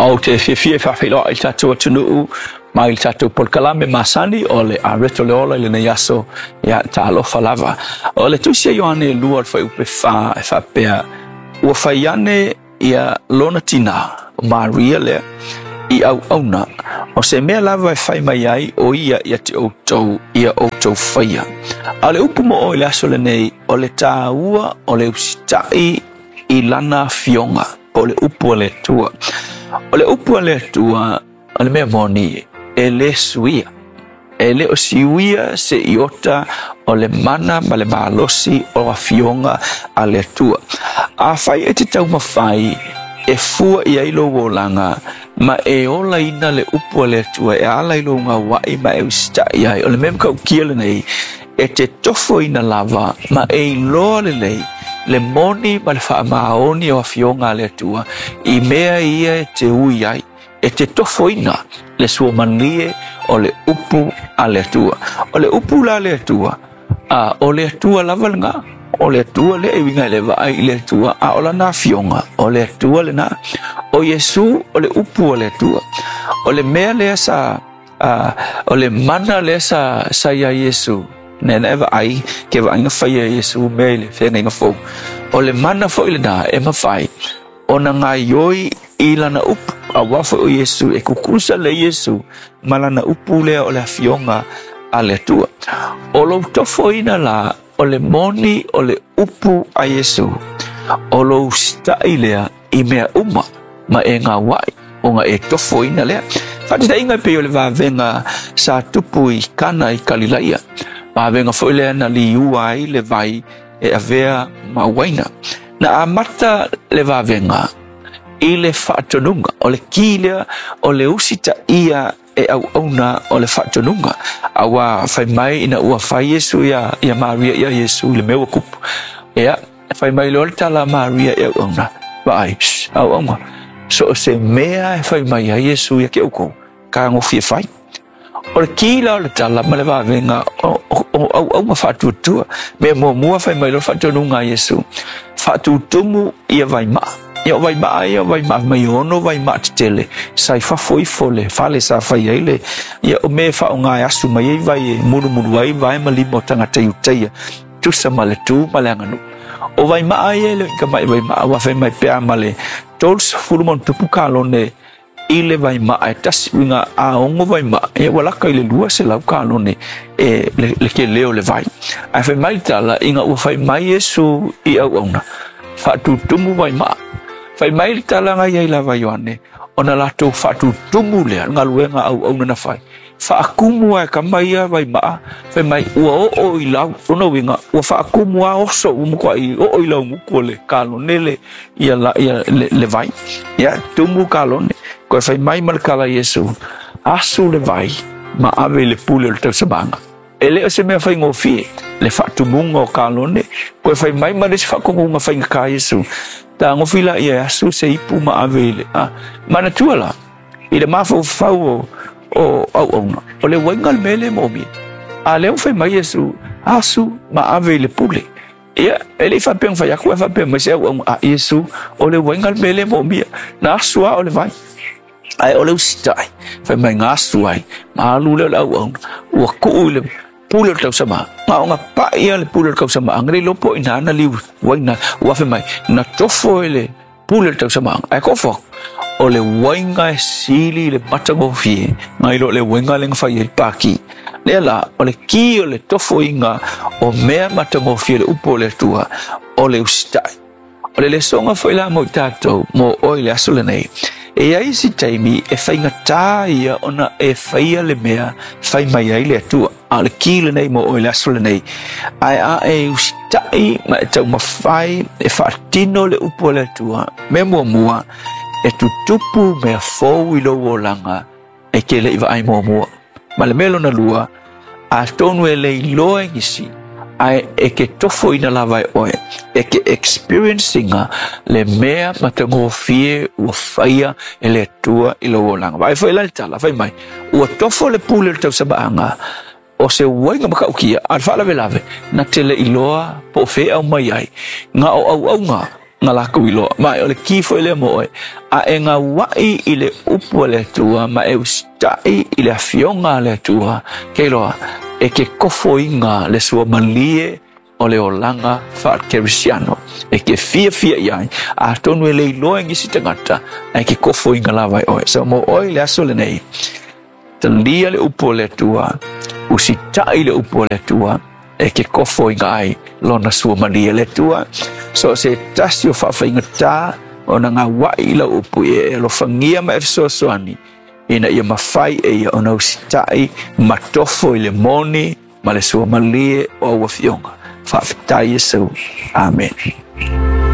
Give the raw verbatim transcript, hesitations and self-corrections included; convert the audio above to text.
Ou te fiafia e faafeiloai i le tatou atunuu mai le tatou polokalame masani o le Areto le Ola i lenei aso, ia talofa lava. O le tusi a Ioane lua o le fuaiupu fa e faapea, ua fai ane ia lona tinā, o Maria lea, i auauna, o se mea lava e fai mai ai o ia ia te outou, ia outou faia. A o le upu mo oe i le aso lenei, o le tāua o le usitai i lana afioga, po o le upu a le Atua. O le upu a le Atua, o le mea moni, e le suia. E le o siuia se iota o le mana ma le malosi o afioga a le Atua. Afai e te taumafai e fua i ai lou olaga ma e olaina le upu a le Atua e ala i lou gauai ma e usitai ai, o le mea matautia lenei, e te tofoina lava ma e iloa lelei le moni ma le faamaoni o afioga a le Atua i mea ia e te ui ai. E te tofoina le suamalie o le upu a le Atua. O le upu la a le Atua, a, o le Atua lava lena. O le Atua lea e uiga i le vaai i le Atua, a o lana afioga, o le Atua lena. O Iesu o le upu a le Atua. O le mea lea sa, a, o le mana lea sa, sa ia Iesu, nena e vaai, ke vaaiga faia e Iesu mea i le feagaiga fou. O le mana foi lena e mafai ona gaioi i lana upu, auā foi o Iesu e kukusa le Iesu ma lana upu lea o le afioga a le Atua. O lou tofoina la o le moni o le upu a Iesu, o lou usitai lea i mea uma ma e gauai, ona e tofoina lea. Faataitaiga e pei o le vavega sa tupu i Kana i Kalilaia, vavega foi lea na liua ai le vai e avea ma uaina. Na amata le vavega i le faatonuga, o le ki lea o le usitaia e auauna o le faatonuga. Auā fai mai ina ua fai Iesu ia, ia Maria ia Iesu i le mea ua kupu. Ia, fai mai loa le tala a Maria i auauna, vaai, shh, auauna, so o se mea e fai mai ai Iesu ia te outou, tagofie fai. O le ki la o le tala ma le vavega o, o, o auauna faatuatua. Mea muamua fai mai loa le faatonuga a Iesu, faatutumu ia vaimaa. Ia o vaimaa ia o vaimaa mai ono vaimaa tetele sa i fafo ifo le fale sa fai ai le, ia o mea e faaaoga e asu mai ai vai e mulumulu ai vae ma lima o tagata Iutaia, tusa ma le tu ma le aganuu. O vaimaa ia e le o i tamai vaimaa, ua fai mai pea ma le tolu ma ona tupu kalone i le vaimaa e tasi, uiga a ono vaimaa, ia ua laka i le lua selau kalone e le, le tele o le vai. Ae fai mai le tala, ina ua fai mai Iesu i auauna, faatutumu vaimaa. Fai mai le tala na iai lava Ioane, ona latou faatutumu lea, le galuega auauna na fai. Faakumu lava e tama ia vaimaa, fai mai ua oo i lau, lona uiga, ua faakumu lava oso ua matuai oo i laugutu o le kalone le, ia, la, ia, le, le vai. Ia, tumu kalone. Koe fai mai ma le tala a Iesu, asu le vai ma ave i le pule o le tausamaga. E le o se mea faigofie le faatumuga o kalone, koe fai mai ma le isi faatonuga faigata a Iesu, tagofi la ia e asu se ipu ma ave i le, a, manatua la, i le mafaufau o, o auauna, o le uaiga le mea lea e moomia. A lea ua fai mai Iesu, asu ma ave i le pule. Ia, e le i faapea ona fai atu, ae faapea mai se auauna a Iesu, o le uaiga le mea lea e moomia, na asu lava o le vai. Ae o le usitai, fai mai na asu ai, ma alu lea o le auauna, ua tuu i le pule o le tausamaga. Na ona pai lava le pule o le tausamaga, le iloa po o ina na liu uaina, ua fai mai, na tofo e le pule o le tausamaga. Ae kofo atu, o le uaiga e sili i le matagofie nai lo le uaiga lea na fai ai le paki. Lea la, o le ki o le tofoina o mea matagofie le upu o le Atua, o le usitai. O le lesoga foi la mo i tatou, mo oe i le aso lenei, e i ai isi taimi e faigata ia ona e faia le mea fai mai ai le Atua. A o le ki lenei mo oe i le aso lenei, ae a e usitai ma e taumafai e faatino le upu a le Atua, mea muamua, e tutupu mea fou i lou olaga e te le i vaai muamua. Ma le mea lona lua, atonu e le iloa e nisi, ae e te tofoina lava e oe, e te experience ina le mea matagofie ua faia e le Atua i lou olaga. Vaai foi la le tala, fai mai, ua tofo le pule o le tausamaanga, o se uaiga matautia, a le faalavelave, na te le iloa po o fea e aumai ai, na o auauna, Na lakou iloa. Ma o le ki foi lea mo oe. A e gauaʻi i le upu a le Atua ma e usitaʻi i le afioga a le Atua, ke iloa, e ke kofoina le suamalie o le olaga faakerisiano. E ke fiafia i ai, atonu e le iloa e nisi tagata, ae ke kofoina lava e oe. So mo oe i le aso lenei, talia le upu a le Atua, usitaʻi le upu a le Atua, e ke kofoina ai lona suamalie le Atua. So se tasi o faafaigata ona gauaʻi i lau upu e alofagia ma e fesoasoani ina ia mafai e ia ona usitaʻi ma tofo i le moni ma le suamalie o au afioga. Faafetai Iesu. Amene.